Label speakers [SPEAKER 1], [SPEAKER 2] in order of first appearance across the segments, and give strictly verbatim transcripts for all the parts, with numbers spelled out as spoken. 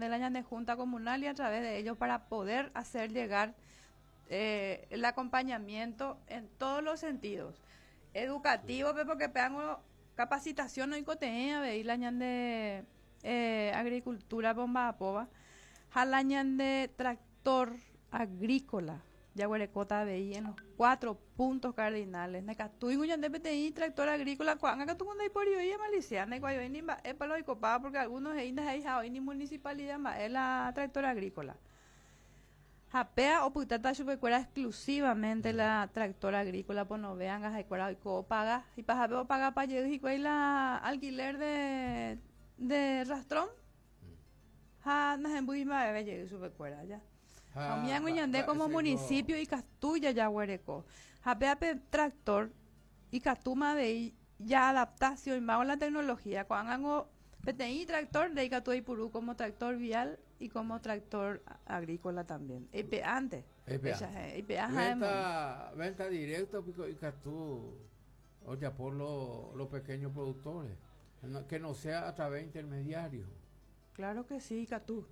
[SPEAKER 1] de la ñane Junta Comunal y a través de ellos para poder hacer llegar eh, el acompañamiento en todos los sentidos. Educativo, porque peango capacitación no oikotevẽ avei la ñande eh, agricultura pomba'apóva ha la ñande tractor agrícola jaguerekóta avei en los cuatro puntos cardinales ndaikatúi ñande peteĩ tractor agrícola ko'ág̃a katu ndaiporioi malicia ndaikuaivai ni mba'épa la oikopáva porque algunos he'i ndaha'eiha oĩ ni municipalidad mba'e la tractor agrícola ha péa opytáta chupekuéra exclusivamente la tractor agrícola ponove anga ha'ekuéra oiko opaga ipahápe opagapa jey hikuái la alquiler de de rastrón ha nahembýi mba'eve jey chupekuéra ya ha umi ñande como municipio ikatu jajaguereko ha péape tractor ikatúma avei ya adaptación la tecnología ko'ág̃a peteĩ tractor ndaikatu oipuru como tractor vial y como tractor agrícola también eipe'ánte eipe'a
[SPEAKER 2] venta, venta directa piko ikatu ojapo los lo pequeños productores que no sea a través de intermediarios.
[SPEAKER 1] Claro que sí, ikatu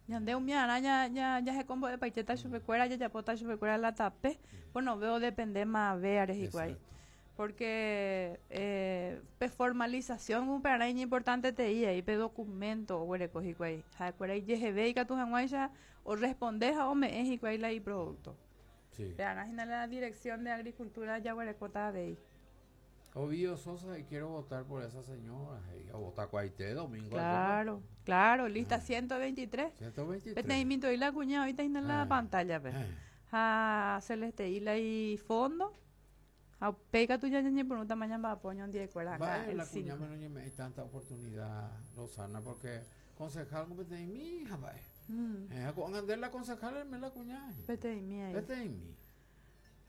[SPEAKER 1] ñande umi arã ña ña jahekombo'epaitéta chupekuéra jajapóta chupekuéra la tape bueno veo depende mavéare hikuái porque eh, pe formalización upearã iñimportante aí pe documento oguereko hikuái ha'ekuéra ijeheve ikatu hag̃uáicha oresponde ha ome'ẽ hikuái la iproducto.
[SPEAKER 2] Sí.
[SPEAKER 1] Pearã hína la dirección de agricultura jaguerekóta avei.
[SPEAKER 2] Ovidio Sosa y quiero votar por esa señora. Y a votar cuaite domingo.
[SPEAKER 1] Claro, claro, lista ciento veintitrés.
[SPEAKER 2] ciento veintitrés.
[SPEAKER 1] Peteĩ minto la cuña ahorita en la
[SPEAKER 2] Ah.
[SPEAKER 1] pantalla pe.
[SPEAKER 2] Eh.
[SPEAKER 1] Ha Celeste ila y fondo. Ha upéi katu ñañepyrũ tamaño mba'apo ñondiekuéra acá
[SPEAKER 2] Vaya,
[SPEAKER 1] el
[SPEAKER 2] la
[SPEAKER 1] cinco.
[SPEAKER 2] cuña no me hay tanta oportunidad, Rosana, porque concejal como peteĩ mi hija, vaya.
[SPEAKER 1] Mm.
[SPEAKER 2] Eh, con andar la concejal me la cuña.
[SPEAKER 1] Peteĩ ahí.
[SPEAKER 2] Peteĩ mi.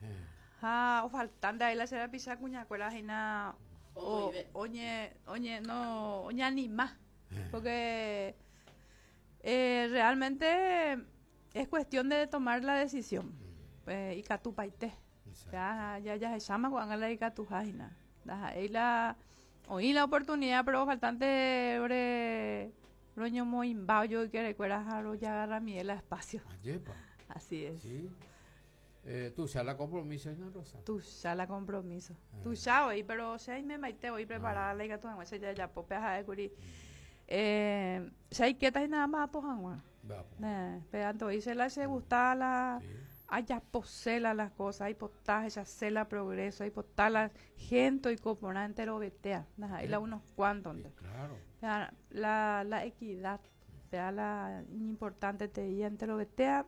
[SPEAKER 2] Eh.
[SPEAKER 1] Ha o faltante ahí la será pisa cuñakuéra hína o
[SPEAKER 3] Oive.
[SPEAKER 1] oñe oñe no oñanima
[SPEAKER 2] Eh.
[SPEAKER 1] porque eh, realmente es cuestión de tomar la decisión eh, ikatupaite.
[SPEAKER 2] Exacto.
[SPEAKER 1] Ya ya ya se llama cuando la ikatuha hína ndaha'éi la oĩ la oportunidad, pero faltante ore roñomoĩmba ojoykerekuéra ha rojagarramiẽ la espacio.
[SPEAKER 2] Ayepa.
[SPEAKER 1] Así es.
[SPEAKER 2] Sí. Eh, tú ya la compromiso, ¿no, Rosa?
[SPEAKER 1] Tuicha la compromiso.
[SPEAKER 2] Ah.
[SPEAKER 1] Tuicha oĩ, pero che aimemaite oĩ preparada la ikatu hag̃ua jajapo pe ha'ékuri. Eh, che aikéta hína mba'apo hag̃ua.
[SPEAKER 2] Va, po.
[SPEAKER 1] Eh, pe anto'i che la che gusta la
[SPEAKER 2] Sí.
[SPEAKER 1] ajapose la las cosas, aipota hechase la progreso, aipota la gente oiko porã enterovetéa, ndaha'éi la unos cuantos.
[SPEAKER 2] Sí, claro.
[SPEAKER 1] La, la, la equidad, pea la importante te'i enterovetéa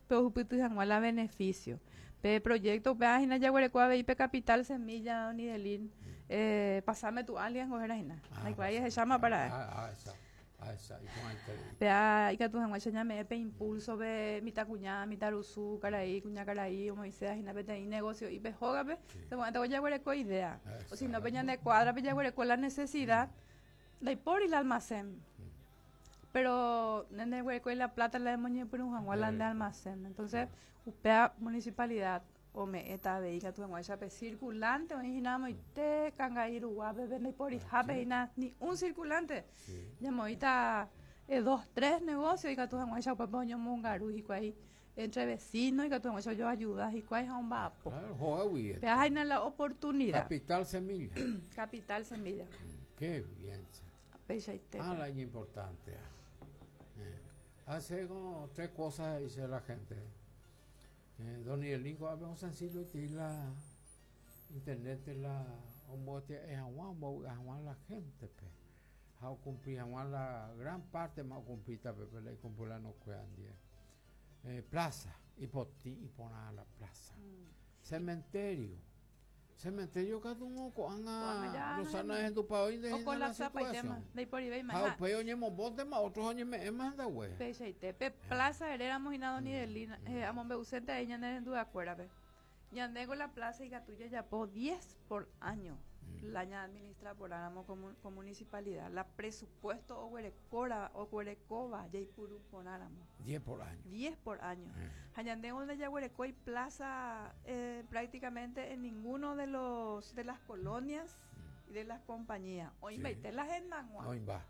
[SPEAKER 1] pe ohupyty hag̃ua la beneficio. Pe proyecto upéva hína jaguereko avei pe capital semilla Onidelin, eh, pasame tu alias ngohéra hína. Ndaikuaái ahecháma para.
[SPEAKER 2] Ah, ah, esa. Ah, esa. Y con el
[SPEAKER 1] Pea ikatu hag̃uáicha ñame'ẽ pe impulso pe mitãkuña, mitãrusu, karai, kuñakarai, omoĩséva hína peteĩ negocio ipe hógape, seguramente jaguereko idea. O si no pe ñande cuadra-pe jaguereko la necesidad, ndaipóri la almacén. Pero nende guereko la plata la emoñepyrũ hag̃ua la nde almacén. Entonces, upéva municipalidad ome'ẽta avei ikatu hag̃uáicha pe circulante oĩ hína amoite Kangai ruguápe pe ndaiporihápe hína ni un circulante.
[SPEAKER 2] Sí.
[SPEAKER 1] Ñamoĩta eh, dos, tres negocios ikatu hag̃uáicha upépe oñomongaru hikuái entre vecinos ikatu hag̃uáicha ojoayuda hikuái ha omba'apo.
[SPEAKER 2] Claro, joder,
[SPEAKER 1] Pe háina la oportunidad.
[SPEAKER 2] Capital Semilla.
[SPEAKER 1] Capital Semilla.
[SPEAKER 2] Qué bien.
[SPEAKER 1] Peichaite.
[SPEAKER 2] Ah, la importante. Eh, hace como tres cosas, dice la gente. Eh, don Nico, un sencillo y la internet de la ombote es agua la gente pe. Ha cumplir la gran parte más cumplida pe le cumplí la no cuedan eh, plaza y poti y poner la plaza. Mm. Cementerio. Cementerio katu ko'ág̃a Rosana hendupa oĩ
[SPEAKER 1] O colapsa ndaiporivéima.
[SPEAKER 2] Ha upéi oñembombóntema otros oñeme'ẽma hendague.
[SPEAKER 1] Peichaite. Pe plaza eréramo hína don Idelina, eh, amombe'usénte ahí ñane renduakuérape. Ñande con la plaza ikatu jajapo diez por año. Mm. La ña administra porãramo como, como municipalidad. La presupuesto oguerekóra oguerekóva jaipuru porãramo.
[SPEAKER 2] diez por año.
[SPEAKER 1] diez por año.
[SPEAKER 2] Mm.
[SPEAKER 1] Ha ñande donde jaguereko hay plaza eh, prácticamente en ninguno de los de las colonias mm. y de las compañías. Hoy
[SPEAKER 2] Sí.
[SPEAKER 1] la hendag̃ua.
[SPEAKER 2] Oĩ va.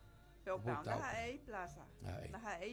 [SPEAKER 1] Pero
[SPEAKER 2] Opyta
[SPEAKER 1] ndaha'éi plaza.
[SPEAKER 2] Ahí.
[SPEAKER 1] Ndaha'éi.